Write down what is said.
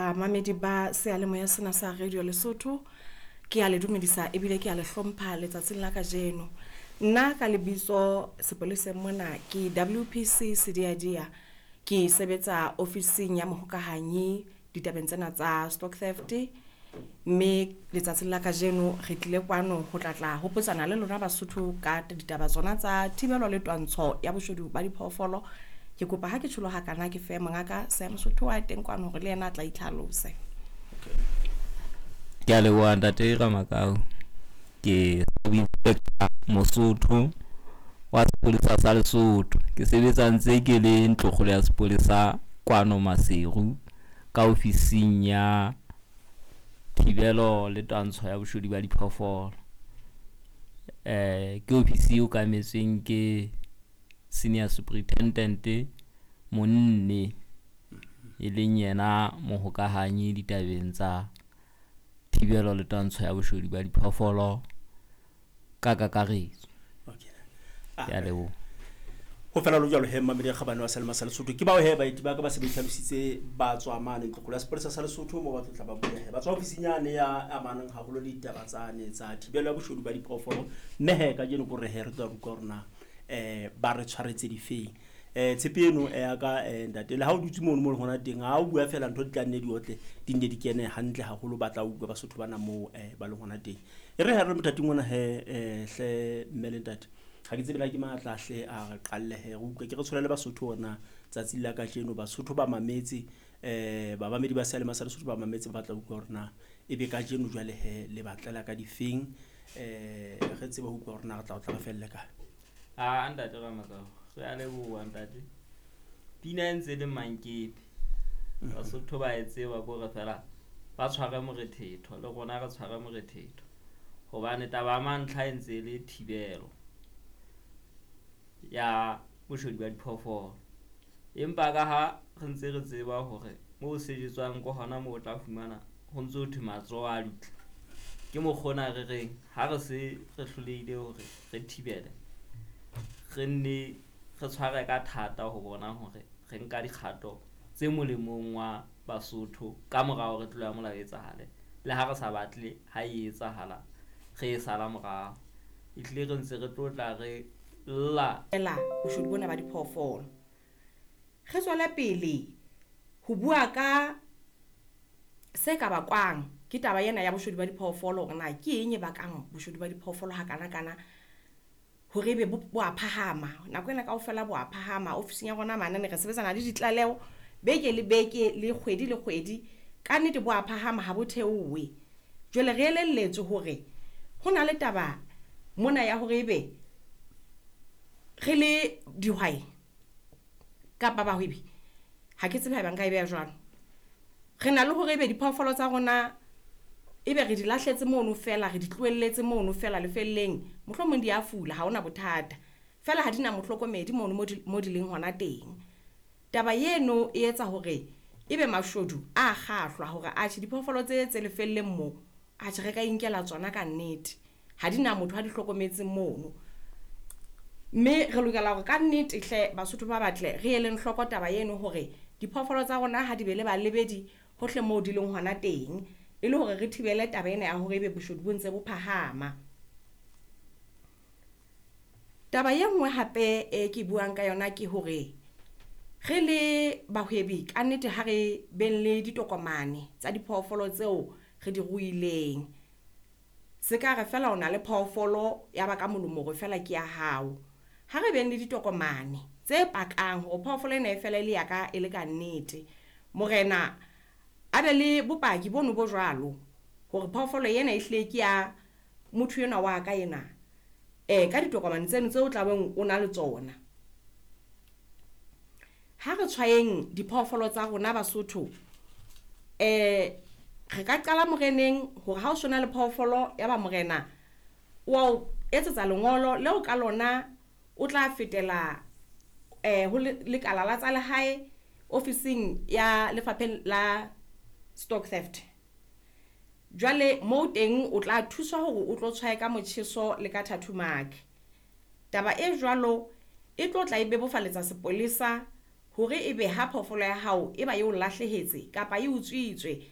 Bamamedi ba seyalemoya sena sa Radio Lesotho. Ke a le dumedisa ebile ke a le hlompha letsatsing la kajeno. Nna ka lebitso sepoleseng mona ke WPC Sediadia. Ke sebetsa ofising ya mohokahanyi ditabeng tsena tsa stock theft. Mme letsatsing la kajeno re tlile kwano ho tla tla hopotsana le lona Basotho ka ditaba tsona tsa thibelo le twantsho ya boshodu ba diphoofolo. Ke kopa ha ke tjholo hakana ke fe mongaka Sam Sotho wa teng kwano hore le yena a tla itlhalose. Ke a leboha ntate Ramakau. Ke Inspector Mosotho wa sepolesa sa Lesotho. Ke sebetsa ntse ke le ntlokgolo ya sepolesa kwano Maseru ka ofising ya thibelo le twantsho ya boshodu ba diphoofolo. Ke ofisi e okametsweng ke senior superintendent Monne, e leng yena mohokahanyi ditabeng tsa thibelo le twantsho ya boshodu ba diphoofolo ka kakaretso. Okay. Ke a leboha. Ho fela lo jwalo he mmamedi ya kgabane wa Selema sa Lesotho. Ke bao he baeti ba ka ba se ba itlhalositse ba tswa mane ntlokgolo ya sepolesa sa Lesotho mo ba tlo tla ba bua he. Ba tswa ofising yane ya amanang haholo le ditaba tsane tsa thibelo ya boshodu ba diphoofolo. Mme he kajeno ko re he re tlo utlwa hore na ba re tshwaretse difeng. Tshepe eno ya ka ntate le ha o dutse mono mo le hona teng ha o bua fela ntho di tla nne di otle di nne di kene hantle haholo ba tla utlwa Basotho bana moo ba leng hona teng. E re ha re le mothating ona he hle mme le ntate ha ke tsebe la ke matla hle a re qalle he re utlwe ke re tshwele le Basotho ona tsatsing la kajeno Basotho ba mametse babamedi ba seyalemoya sa Lesotho ba mametse ba batla utlwa hore na ebe kajeno jwale he le batlela ka difeng re tsebe ho utlwa hore na re tla o tla re felle kae. A ntate Ramakau, re a leboha ntate. Pina e ntse le mankepe. Basotho ba e tseba ko re fela ba tshware morethetho le rona re tshware morethetho. Hobane taba ya mantlha e ntse le thibelo ya boshodu ba diphoofolo. Empa ka ha re ntse re tseba hore moo sejetswang ko hona moo o tla fumana ho ntso thwe matsoho a dutla. Ke mokgona re reng ha re se re hlolehile hore re thibele, re nne re tshware ka thata ho bona hore re nka dikgato tse molemong wa Basotho ka mora hore tlolo ya molao e etsahale. Le ha re sa batle ha e etsahala re e sala morao. Ehlile re ntse re tlo tla re lla Ela boshodu bona ba diphoofolo. Re tswele pele ho bua ka se ka bakwang ke taba ena ya boshodu ba diphoofolo hore na ke eng e bakang boshodu ba diphoofolo hakana-kana hore ebe bo a phahama. Nako ena kaofela bo a phahama. Ofising ya rona mane re sebetsana le ditlaleho beke le beke le kgwedi le kgwedi. Ka nnete bo a phahama ha bo theohe. Jwale re elelletswe hore ho na le taba mona ya hore ebe re le dihwai kapa bahwebi, ha ke tsebe haeba nka e beha jwalo. Re na le hore ebe diphoofolo tsa rona ebe re di lahletse mono fela, re di tlohelletse mono fela lefelleng. Mohlomong di a fula, ha hona bothata. Fela ha di na mohlokomedi mono mo di leng hona teng. Taba eno e etsa hore ebe mashodu a kgahlwa hore atjhe diphoofolo tse tse lefelleng mo, atjhe re ka inkela tsona ka nnete. Ha di na motho a di hlokometseng mono. Mme re lokela hore ka nnete hle Basotho ba batle re eleng hloko taba eno hore diphoofolo tsa rona ha di be le balebedi hohle moo di leng hona teng, e le hore re thibele taba ena ya hore ebe boshodu bo ntse bo phahama. Taba e nngwe hape e ke buang ka yona ke hore re le bahwebi ka nnete ha re beng le ditokomane tsa diphoofolo tseo re di ruileng. Se ka re fela o na le phoofolo ya ba ka molomo hore fela ke ya hao. Ha re beng le ditokomane tse pakang hore phoofolo ena e fela e le ya ka e le ka nnete. Morena a be le bopaki bono bo jwalo hore phoofolo ena e hlile ke ya motho enwa wa ka ena. Ka ditokomane tseno tseo o tlabeng o na le tsona. Ha re tshwayeng diphoofolo tsa rona Basotho, re ka qala moreneng hore ha o sona le phoofolo ya ba morena o a o etsetsa lengolo leo ka lona o tla fetela ho lekala la tsa lehae ofising ya lefapheng la stock theft. Jwale moo teng o tla thuswa hore o tlo tshwaye ka motjheso le ka tattoo mark. Taba e jwalo e tlo tla e bebofaletsa sepolesa Hore ebe ha phoofolo ya hao e ba e o lahlehetse kapa e utswitswe.